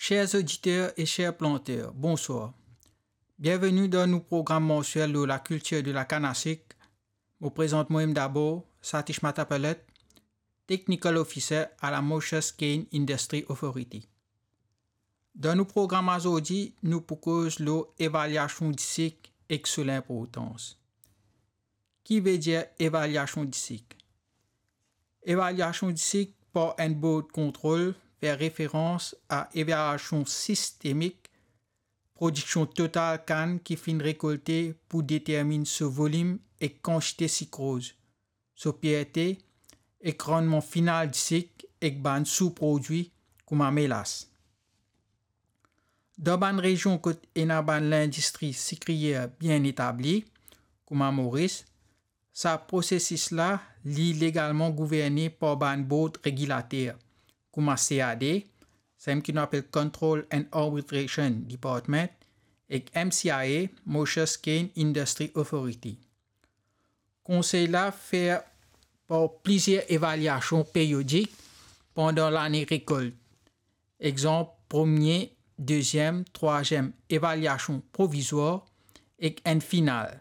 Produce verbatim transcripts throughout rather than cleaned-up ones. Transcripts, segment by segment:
Cher oditer e cher planter, bonswar. Bienveni dan nou program mansiel lor lakiltir de lakann a sik. Mo prezant mwa-mem dabor, Satish Matapalet, Technical Officer a la Mauritius Cane Industry Authority. Dan nou program azordi, nou pou koz lor evaliasion disik ek so linportans. Ki vedir evaliasion disik? Evaliasion disik par enn board kontrol fer referans a evaliasion sistemik prodiksion total kann ki finn rekolte pou determinn so volim ek kantite sikroz, so perte ek rannman final disik ek bann souprodwi kouma melas. Dan bann rezion kot ena bann lindistri sikriyer bien etabli, kouma Moris, sa prosesis la li legalman gouverne par bann board regilater, kouma C A D, samem ki nou apel Control and Arbitration Department, ek M C I A, Mauritius Cane Industry Authority. Konsey la fer par plizier evaliasion periodik pandan lane rekolt. Exanp, premie, deziem, trwaziem evaliasion provizwar ek enn final.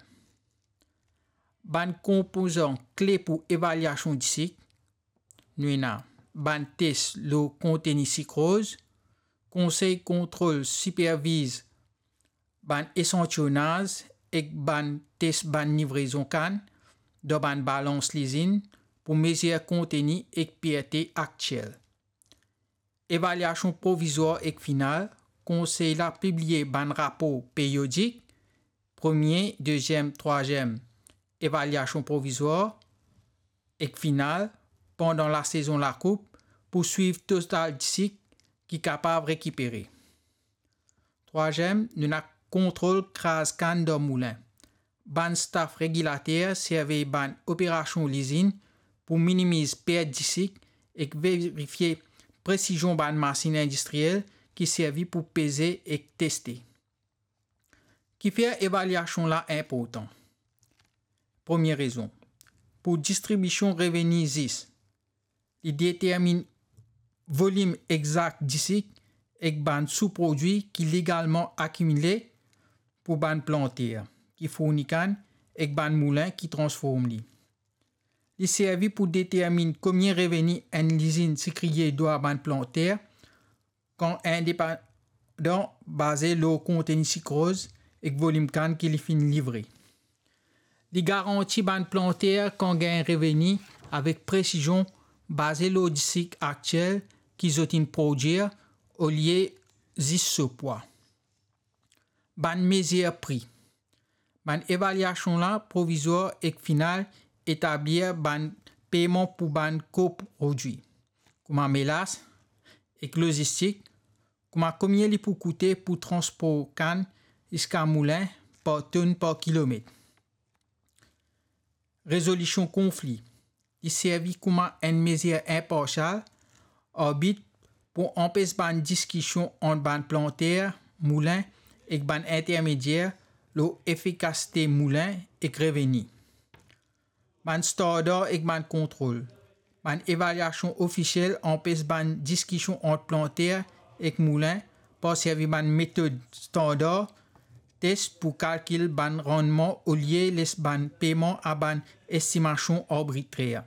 Bann konpozan kle pou evaliasion disik, nou ena bann tes lor konteni sikroz, konsey kontrol siperviz bann esantiyonaz ek bann tes bann livrezon kann dan bann balans lizinn pou mezir konteni ek perte aktiel. Evaliasion provizwar ek final, konsey la pibliye bann rapor periodik, premie, deziem, trwaziem evaliasion provizwar ek final pandan lasezon lakoup pou swiv total disik ki kapav rekipere. Trwaziem, nou ena kontrol kraz kann dan moulin. Bann staf regilater servi bann operasion lizinn pou minimiz pert disik ek verifie presizion bann masinn indistriel ki servi pou peze ek teste. Kifer evaliasion la inportan? Premie rezon, pou distribision reveni zis. Li determinn volim exak disik ek bann souprodwi ki legalman akimile pou bann planter ki fourni kann ek bann moulin ki transform li. Li servi pou determinn komie reveni enn lizinn sikriye dwa bann planter kan indepandan, baze lor konteni sikroz ek volim kann ki li finn livre. Li garanti bann planter kan gagn reveni avek presizion baze lor disik aktiel ki zot inn prodwir, olie zis so pwa. Bann mezir pri. Bann evaliasion la provizwar ek final etablir bann peyman pou bann koprodwi, kouma melas ek lozistik, kouma komie li pou koute pou transpor kann ziska moulin par tonn par kilomet. Rezolision konfli. Li servi kouma enn mezir inparsial, arbit, pou anpes bann diskision ant bann planter, moulin ek bann intermedier lor efikasite moulin ek reveni. Bann standar ek bann kontrol. Bann evaliasion ofisiel anpes bann diskision ant planter ek moulin par servi bann metod standar tes pou kalkil bann rannman olie les bann peyman a bann estimasion arbitrer.